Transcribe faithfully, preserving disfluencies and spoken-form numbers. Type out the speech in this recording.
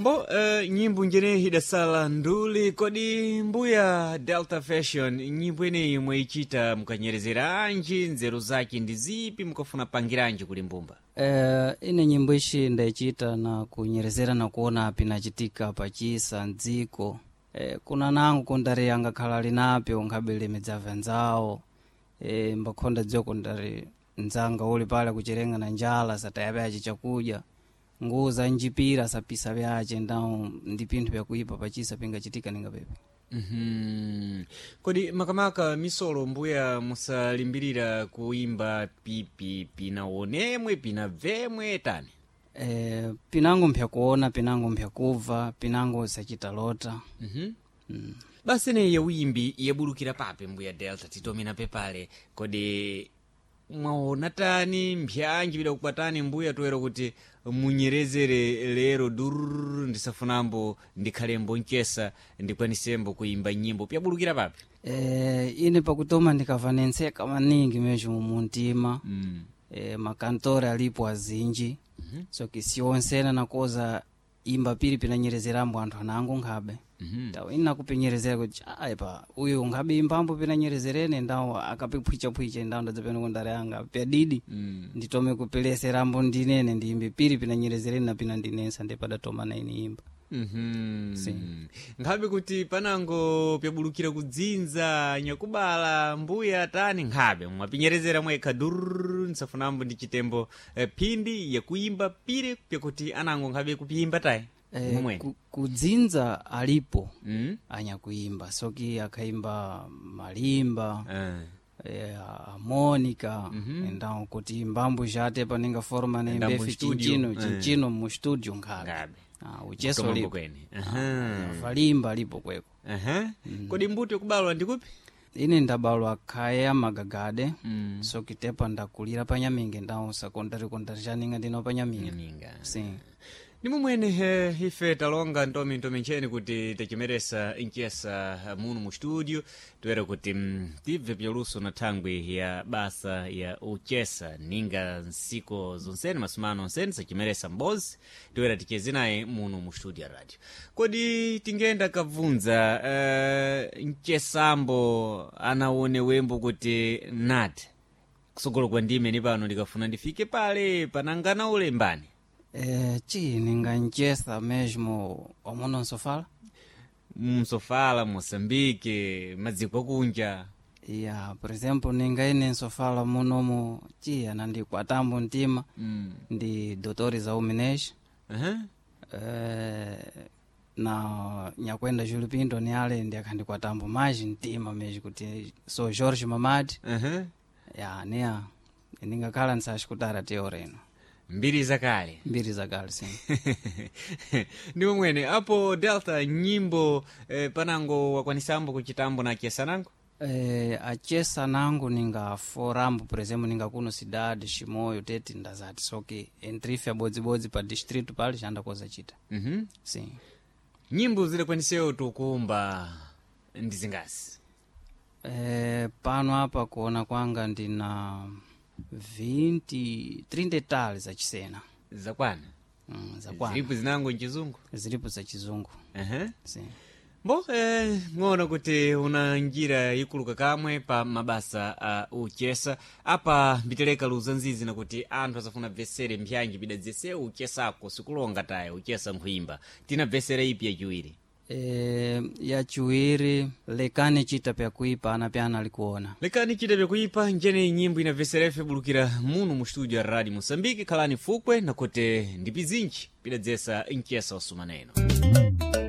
Mbo uh, nyimbo njeneyi idasala nduli kodi mbuya Delta Fashion nyimbo ineyi mwayichita mukanyerezeranji nzeru zake ndi zipi mukafuna pangiranji kuli mbumba? Eh, ine nyimbo ishi ndaichita na kunyerezera na kuona pinachitika pachisa mdziko. Eh, kuna nangu kundari angakhala linapyo nkhabele midzava nzawo. Eh, mbakhonda dziwa kundari nzanga uli pale kucherenga na njala sataya pyace chakudya nguwo za njipira sapisa pyace ndawo ndi pinthu pyakuipa pachisa pingachitika ninga pepe. Mm-hmm. Kodi makamaka misolo mbuya musalimbirira kuimba pipi pinaonemwe pinabvemwe tani? Eh, pinango mpyakuona pinango mpyakubva pinango sachita lota. Mm-hmm. Mm. Basi neyi yawimbi yabulukira pape mbuya Delta titomena pepale kodi mwaona tani mpyanji pidakukwatani mbuya toera kuti munyerezere lero dururu ndisafunambo ndikhalembo mchesa ndikwanisembo kuimba nyimbo pyabulukira pape? Eh, ine pakutoma ndikava nentseka maningi mesmo muntima. Mm. Eh, makantore alipo azinji. mm -hmm. So kisiyonsena nakoza imba pili pinanyerezerambo anthu anango nkhabe. Mm -hmm. Tawo ina kupinyerezera kuti aipa uyu nkhabe imbambo pinanyerezerene ndawo akapiphwichaphwicha ndawo ndadzapena kundare anga pyadidi. Mm. Nditome kupeleserambo ndinene ndiyimbe pili pinanyerezerene na pina ndinensa ndipadatoma na ine imba. Mm-hmm. Si. Nkhabe kuti panango pyabulukira kudzinza nyakubala mbuya tani nkhabe mwapinyerezera mwekha dururu ndisafunambo ndi chitembo eh, phindi yakuimba pire pyakuti anango nkhabe kupiyimba tayi Eh, momwene. ku, kudzinza alipo Mm? anyakuimba soki akhaimba malimba. Ah. Eh, harmonica. Mm -hmm. Então kuti mbambo jate paninga forma Ndambo nembefi studio. chinchino Eh. chinchino mu studio nkhabe. Ngabe Ah, ucheso Kutomambo lipo kwene. Aha. valimba lipo kweko. Aha. Kodi mbuto yakubalwa ndikupi? Ine ndabalwa khaya magagade. Mm. Sokitepa ndakulira panyaminge ndawo sekondari kondari chaninga ndino panyaminge. Nyaminga. Sim. Ni mumwene eh, ife talonga ntomi ntomi ncheni kuti tachimeresa nchesa muno mu studio toera kuti mm, tibve pyaluso na thangwi ya basa ya uchesa ninga nsiko zonsene masumano onsene sachimeresa mbozi toera ticheze naye muno mu studio ya radio. Kodi tingenda kabvunza eh, mchesambo anaone wembo kuti nati kusogolo kwa ndime ni pano ndikafuna ndifike pale panangana ulembani? Eh, chi ninga nchesa mesmo omuno nsofala. Msofala Moçambique madziko akunja. Ya, por exemplo ninga ine nsofala munomu chi anandikwatambo mtima. Mm. Ndi Doutor Isaú Menezes. Uh-huh. Eh, na nyakwenda Júlio Pinto ni ale ndi akhandikwatambo maji mtima mesmo kuti so Jorge Mamadi. Uh-huh. Ya neya ningakhala nsachikutara teora ino. Mbiri zakale. Mbiri zakale sim. Ndi momwene apo Delta nyimbo eh, panango wakwanisambo kuchitambo na achesanango? Eh, achesa nangu ninga forambo por exemplo ninga kuno cidade Chimoio tete ndazati soki entrife abodzibodzi pa distrito pale chandakoza chita. Mm-hmm. Sim. Nyimbo zidakwanisewo tukumba ndi zingasi? Eh, pano apa kuona kwanga ndina vinte trinta e tal zachisena. Zakwana. Mm, zakwana. Zilipo zinango mchizungu? Zilipo za chizungu. Uh-huh. Sim. Mbo eh, ng'ono kuti una njira ikuluka kamwe pa mabasa a uh, uchesa apa mbiteleka luza nzizi nakuti anthu asafuna bvesere mpyanji pidadzese uchesako sikulonga taye uchesa nkhuyimba tina bvesere ipi yachiwiri? E, yachiwiri lekani chita pyakuipa ana pyana alikuona. Lekani chita pyakuipa njene nyimbo inabveserefe bulukira muno mu studio ya Radio Moçambique khalani fukwe nakuti ndipizinji pidadzesa mchesa usumaneno.